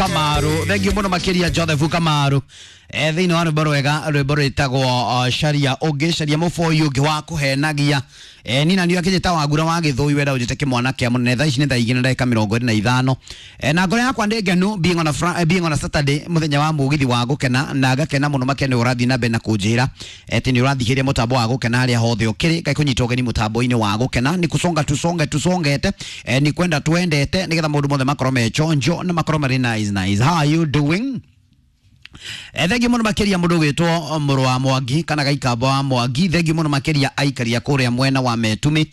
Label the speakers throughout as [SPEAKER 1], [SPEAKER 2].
[SPEAKER 1] Kamaru, thengiũ mũno makĩria Joseph Kamaru. Thĩinĩ wa rwĩmbo rwega, rwĩmbo rwĩtagwo caria ũngĩ, caria mũboi ũngĩ wa kũhenagia. Nina nĩ akĩnjĩta wangura wa gĩthũi wenda ũnjĩte kĩmwana kĩa mũnene. Thaa ici nĩ thaa 2:25, na ngoro yakwa ndĩ ngenu being on a Saturday, mũthenya wa mũgithi wa gũkena, na ngakena mũno makĩria nĩ ũrathiĩ na mbere na kũnjĩra atĩ nĩ ũrathikĩrĩria mũtambo wa gũkena harĩa hothe ũkĩrĩ. Ngai kũnyita ũgeni mũtambo-inĩ wa gũkena ni kusonga tusonge tusongete, ni kwenda twendete nĩgetha maũndũ mothe makorwo me chonjo na makorwo marĩ nice nice. How are you doing? Thengiũ mũno makĩria mũndũ ũgwĩtwo mũrũ wa Mwangi kana gaikamba wa Mwangi. Thengiũ mũno makĩria aikaria kũrĩa mwena wa Metumi,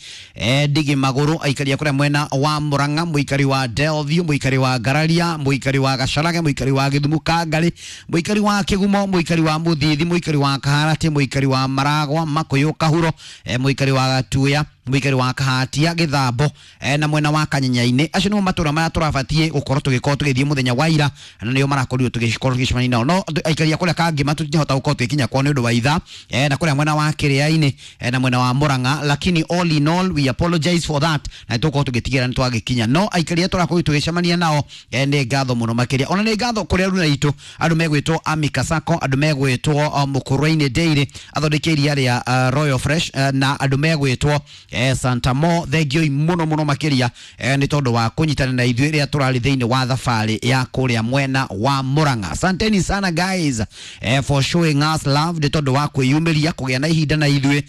[SPEAKER 1] ndigi magũrũ, aikaria kũrĩa mwena wa Murang'a, mũikari wa Delview, mũikari wa Ngararia, mũikari wa Gacarage, mũikari wa Gĩthumu Kangarĩ, mũikari wa Kĩgumo, mũikari wa Mũthithi, mũikari wa Kaharati, mũikari wa Maragwa, Makũyũ, Kahuro, mũikari wa Gatuya, mũikari wa Kahatia, Gĩthambo, na mwena wa Kanyenya-inĩ. Acio nĩmo matũra marĩa tũrabatiĩ gũkorwo tũgĩkorwo tũgĩthiĩ mũthenya wa ira, na nĩo marakorirwo tũgĩkorwo tũgĩcemania nao. No aikaria kũrĩa Kangĩma tũtingĩhota gũkorwo tũgĩkinya kwao nĩ ũndũ wa ithaa, na kũrĩa mwena wa Kĩrĩa-inĩ, na mwena wa Murang'a, lakini all in all we apologize for that, na tũgũkorwo tũgĩtigĩra nĩ twagĩkinya. No aikaria tũrakorwo tũgĩcemania nao, nĩ ngatho mũno makĩria. Ona nĩ ngatho kũrĩ aruna aitũ, andũ megwĩtwo Amika Sacco, andũ megwĩtwo Mũkũrwe-inĩ Dairy, athondeki iria rĩa Royal Fresh, na andũ megwĩtwo Santa Mo. Thengiũi mũno mũno makĩria, nĩ tondũ wa kũnyitana na ithuĩ rĩrĩa tũrarĩ thĩinĩ wa thabarĩ ya kũrĩa mwena wa Murang'a. Asanteni sana guys, for showing us love, nĩ tondũ wa kwĩyumĩria kũgĩa na ihinda na ithuĩ,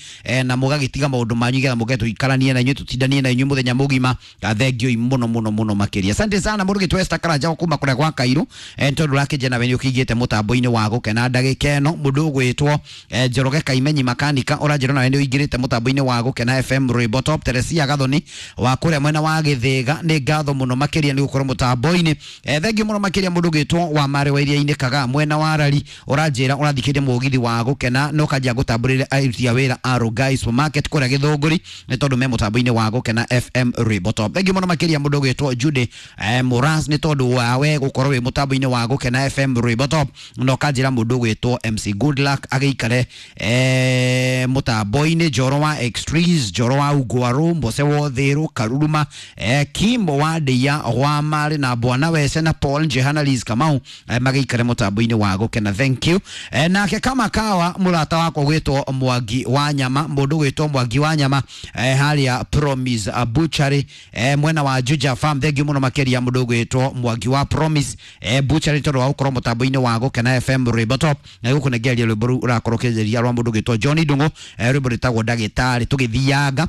[SPEAKER 1] na mũgagĩtiga maũndũ manyu nĩgetha mũke tũikaranie na inyuĩ, tũtindanie na inyuĩ mũthenya mũgima. Thengiũi mũno mũno mũno makĩria, asante sana mũndũ gĩtwo Esther Karanja kuma kũrĩa gwa Kairu, nĩ tondũ ũrakĩnjia nawe nĩ ũkĩingĩte mũtambo-inĩ wa gũkena ndagĩka ĩno. Mũndũ ũgwĩtwo Njoroge Kaimenyi makanika ũranjĩra nawe nĩ ũingĩrĩte mũtambo-inĩ wa gũkena FM Rwĩmbo Top. Teresia Gathoni wa kũrĩa mwena wa Gĩthĩga, nĩ ngatho mũno makĩria nĩ gũkorwo mũtambo-inĩ. Thengiũ mũno makĩria mũndũ ũgwĩtwo wa Mare wa Iria-inĩ Kaga mwena wa Rari, ũranjĩra ũrathikĩrĩria mũgithi wa gũkena no kanjia gũtambũrĩre aruti a wĩra a Rongai Supermarket kũrĩa Gĩthũngũri nĩ tondũ me mũtambo-inĩ wa gũkena FM Rwĩmbo Top. Thengiũ mũno makĩria mũndũ ũgwĩtwo Judy Muras nĩ tondũ wawe gũkorwo wĩ mũtambo-inĩ wa gũkena FM Rwĩmbo Top, na ũkanjĩra mũndũ ũgwĩtwo MC Goodluck agĩikare mũtambo-inĩ, Njoro wa Extrees, Njoro wa Ungwaru, Mbose Wothiru, Karuruma, Kimbo wa Ndeia wa Marĩ na Bwana Wece na Paul Njehana Liz Kamau, magĩikare mũtambo-inĩ wa gũkena. Thank you. Nake kama kawa mũrata wakwa gwĩtwo Mwangi wa Nyama, mũndũ gwĩtwo Mwangi wa Nyama, harĩa Promise Butchery, mwena wa Juja Farm. Thank you mũno makĩria mũndũ gwĩtwo Mwangi wa Promise Butchery tondũ wa gũkorwo mũtambo-inĩ wa gũkena FM Rwĩmbo Top, na gũkũnengereria rwĩmbo rũu ũrakorwo ũkĩgeria rwa mũndũ gwĩtwo John Ndung'u, rwĩmbo rwĩtagwo Ndagĩtarĩ. Tũgĩthianga,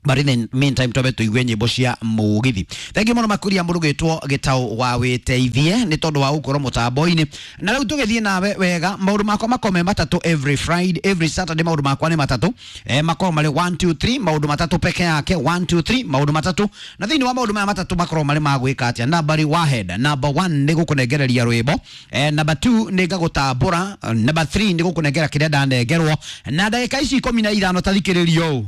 [SPEAKER 1] but in the meantime twambe tuigue nyĩmbo cia mũgithi. Thengiũ mũno makĩria mũndũ gwĩtwo Gĩtaũ wa Wĩteithie nĩ tondũ wa gũkorwo mũtambo-inĩ. Na rĩu tũgĩthiĩ nawe wega, maũndũ makwa makorwo me matatũ every Friday, every Saturday maũndũ makwa nĩ matatũ, makorwo marĩ 1 2 3, maũndũ matatũ peke yake, 1 2 3, maũndũ matatũ. Na thĩinĩ wa maũndũ maya matatũ makorwo marĩ ma gwĩka atĩa? Nambari wa head, number 1 nĩ gũkũnengereria rwĩmbo, number 2 nĩ ngagũtambũra, number 3 nĩ gũkũnengera kĩrĩa ndanengerwo na ndagĩka ici 15. Tathikĩrĩrio ũũ.